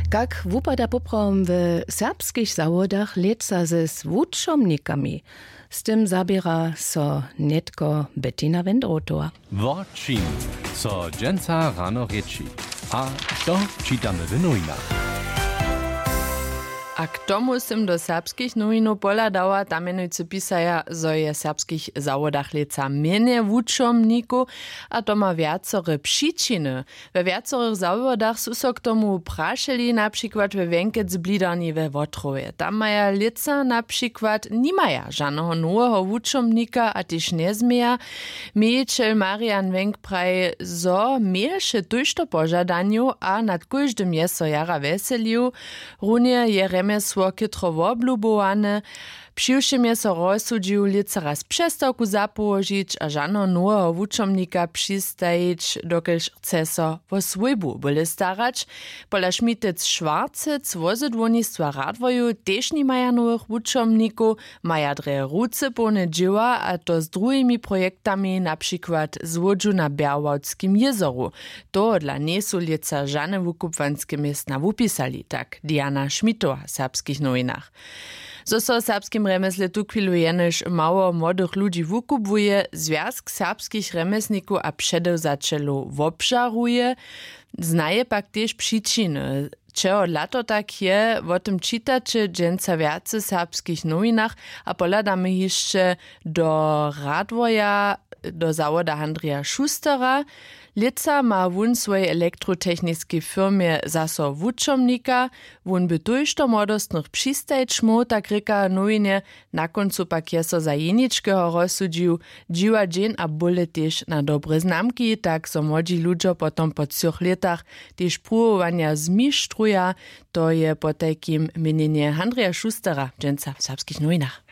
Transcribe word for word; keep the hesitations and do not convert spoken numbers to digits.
Kak wupada poprawom w serbskich zawodach lětsa ze z wučomnikami? Z tym zaběra so nětko Bettina Wendrotowa. Wo čim so dźensa rano rěči, a to čitamy w nowinach. A k tomu sym do serbskich nowinow pohladała, tam mjenujcy pisaja, zo je w serbskich zawodach lětsa mjenje wučomnikow, a to ma wjacore přičiny. We wjacorych zawodach su so k tomu prašeli, na přikład we wjenkec blidarni we wotrowje. Tam maja lětsa na přikład nimaja žaneho noweho wučomnika a tež njezměja. Mějićel Marian Wenk praji, zo měješe tójšto požadanjow a nad kóždym je so jara wjeselił. Runje je rjemjesło chětro woblubowane. Přiwšěm je so rozsudźił lětsa raz přestawku zapołožić a žaneho noweho wučomnika přistajić, dokelž chce so wo swójbu bóle starać. Pola Šmitec Šwarcec wozydłownistwa Radworju tež nimaja nowych wučomnikow, maja drje ruce połne dźěła, a to z druhimi projektami, na přikład złódźu na Bjerwałdskim jězoru. Tohodla njejsu lětsa žane wukubłanske městna wupisali, tak Diana Šmitowa w Serbskich nowinach. Zo so w serbskim rjemjeslej tuchwilu jenož mało młodych ludźi wukubłuje, zwjazk serbskich rjemjeslnikow a předewzaćelow wobžaruje, znaje pak tež přičiny. Čehodla to tak je, wo tym čitaće dźensa wjace w Serbskich nowinach, a pohladamy hišće do Radworja, do zawoda Handrija Šustera. Lětsa ma wón swojej elektrotechniskej firmje zaso wučomnika. Wón by tójšto młodostnych přistajić móhł, tak rěka w nowinje. Na kóncu pak je so za jeničkeho rozsudźił. Dźiwa dźeń a bóle tež na dobre znamki, tak zo młodźi ludźo potom po třoch lětach tež pruwowanja zmištruja. To je potajkim měnjenje Handrija Šustera dźensa w Serbskich nowinach.